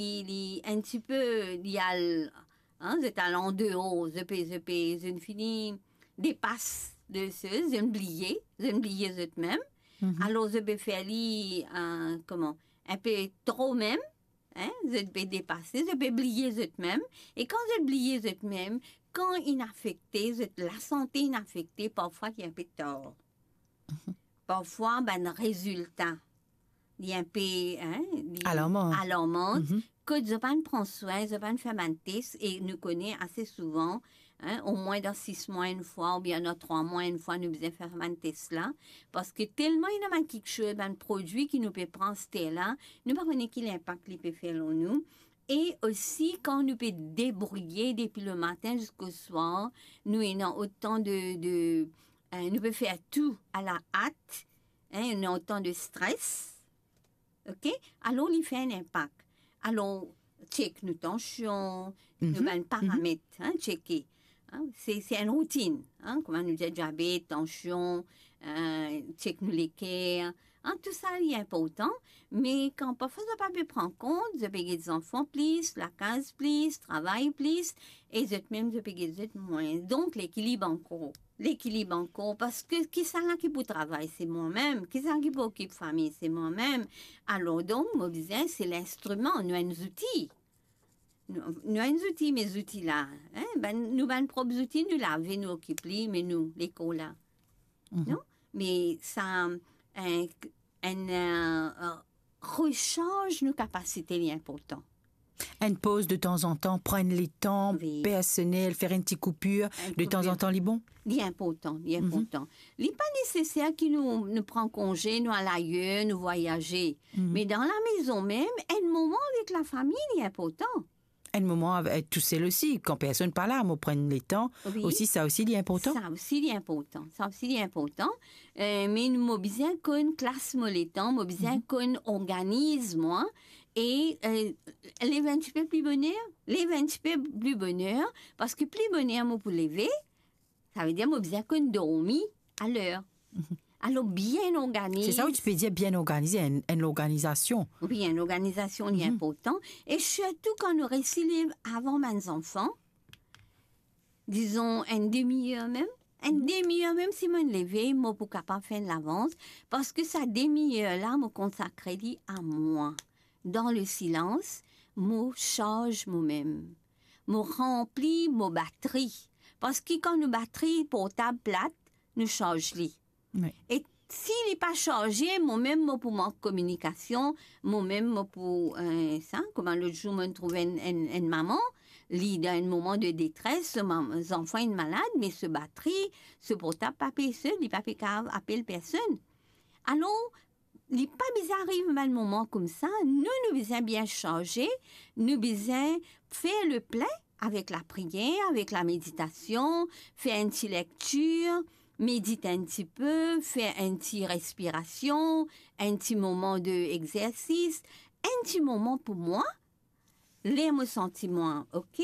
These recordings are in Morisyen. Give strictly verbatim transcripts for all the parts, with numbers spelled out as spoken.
li, li enn tipe, li al, hein, zot al andeor, zot pe, zot pe, zot fini depas de se, zot bliye, zot bliye zotmem. Mhm. Alor, zot pe fer li, euh, koman, enpe tro mem, hein, zot pe depase, zot pe bliye zotmem. E kan zot bliye zotmem, kan inn afekte, zot lasante inn afekte, parfwa li enpe tar. Mhm. Parfwa, bann rezilta, li enpe, hein, li Alarman. Alarman. Mhm. Kot zot pa'nn pran swin, zot pa'nn fer bann tes, e nou kone ase souvan, hein, omwin dan sis mwa enn fwa, oubien dan trwa mwa enn fwa, nou bizin fer bann tes la, parski telman ena bann kiksoz, bann prodwi ki nou pe pran aster la, nou pa kone ki linpak li pe fer lor nou. E osi, kan nou pe debrouye depi lematin ziska swar, nou ena otan de, de, eh, nou pe fer tou a la at, hein, nou ena otan de stres, ok? Alor, li fer enn linpak. Alor, tchek nou tansion, nou Mhm, bann mhm. paramet, hein, tcheke. Hein, se, se enn routinn, hein, kouma nou dir, diabet, tansion, eh, tchek nou leker, hein, tou sa li inportan, me kan parfwa zot pa pe pran kont, zot pe get zanfan plis, lakaz plis, travay plis, e zot mem zot pe get zot mwin. Donk, lekilib ankor. Lekilib ankor, parski kisannla ki pou travay, se mwa mem. Kisannla ki pou okip fami, se mwa mem. Alor, donk, mo bizin, se linstriman, nou enn zouti. Nou, nou enn zouti, me zouti la, hein, bann, nou bann prop zouti, nou lave, nou okip li, me nou, lekor la. Mhm. Non? Me sa, enn, enn, euh, resarz nou kapasite, li inportan. Enn poz de tanzantan, pran enn letan Wi. Personel, fer enn ti koupir, Enn de koupir. Tanzantan, li bon? Li inportan, li Mhm. inportan. Li pa neseser ki nou, nou pran konze, nou al ayer, nou vwayaze. Mhm. Me dan lamezon mem, enn moman avek lafami, li inportan. Enn moman avek, tousel osi, kan personn pa la, mo pran enn letan, Wi. Osi, sa osi, li inportan. Sa osi, li inportan. Sa osi, li inportan. Eh, me mo bizin konn klas mo letan, mo bizin Mhm. konn organiz mwa, e, eh, lev enn tipe pli boner, lev enn tipe pli boner, parski pli boner mo pou leve, savedir mo bizin konn dormi a ler. Mhm. Alor, bien organiz. Se sa ou ti pe dir bien organize, enn, enn lorganizasion. Wi, enn lorganizasion, li Mhm. inportan. E sirtou kan nou resi lev avan bann zanfan, dizon enn demi-er mem, enn demi-er mem, si mo'nn leve, mo pou kapav fer enn lavans, parski sa demi-er la, mo konsakre li a mwa. Dan le silans, mo sarz momem. Mo ranpli mo batri. Parski kan nou batri portab plat, nou sarz li. Wi. E si li pa sarze, momem mo pou mank kominikasion, momem mo pou, eh, sa, kouma lot zour mo'nn trouv enn, enn, enn mama, li dan enn moman de detres, so mam-, zanfan inn malad, me so batri, so portab pa pe se, li pa pe kapav apel personn. Alor, li pa bizin ariv bann moman koumsa, nou, nou bizin bien sarze, nou bizin fer le plin avek lapriyer, avek lameditasion, fer enn ti lektir, medit enn tipe, fer enn ti respirasion, enn ti moman de exersis, enn ti moman pou mwa, ler mo santi mwa ok,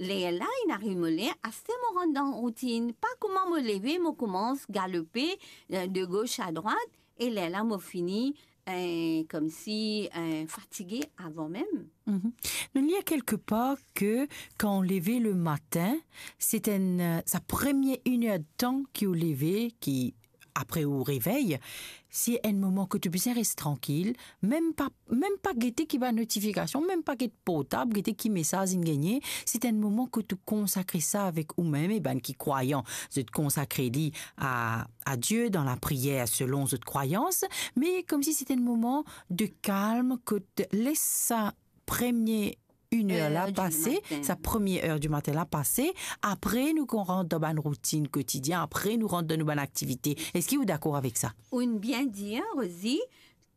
ler la inn ariv mo ler, aster mo rant dan routinn, pa kouma mo leve, mo koumans galope, eh, de gos a drwat, e ler la mo fini, eh, koumsi, eh, fatige avan mem. Mhm. Nou lir kelkepar ke kan ou leve le matin, se enn, eh, sa premie inn er de tan ki ou leve, ki apre ou revey, se enn moman kot ou bizin res trankil, mem pa, mem pa gete ki bann notifikasion, mem pa get portab, gete ki mesaz inn gagne, se enn moman kot ou konsakre sa avek oumem, e bann ki krwayan, zot konsakre li a, a Die dan lapriyer selon zot krwayans, me koumsi se enn moman de kalm kot les sa premie inn er la Er di pase, matin. Sa premie er di matin la pase, apre nou kan rant dan bann routinn kotidien, apre nou rant dan nou bann aktivite. Eski ou dakor avek sa? Ou bien dir, Rosie,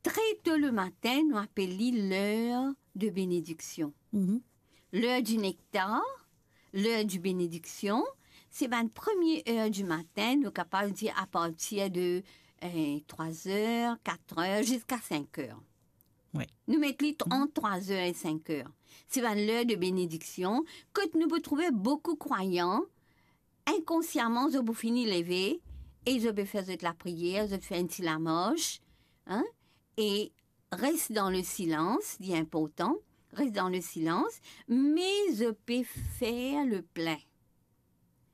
tre to le matin, nou apel li ler de benediksion. Mhm. Ler di nektar, ler di benediksion, se bann premie er di matin, nou kapav dir apartir de, eh, trwa er, kat er, ziska sink er. Wi. Nou met li t-, ant trwa er e sink er. Se bann ler de benediksion, kot nou pou trouve boukou krwayan, inkonsiaman, zot pou fini leve, e zot pe fer zot lapriyer, zot fer enn ti lamars, hein, e res dan le silans, li inportan, res dan le silans, me zot pe fer le plin.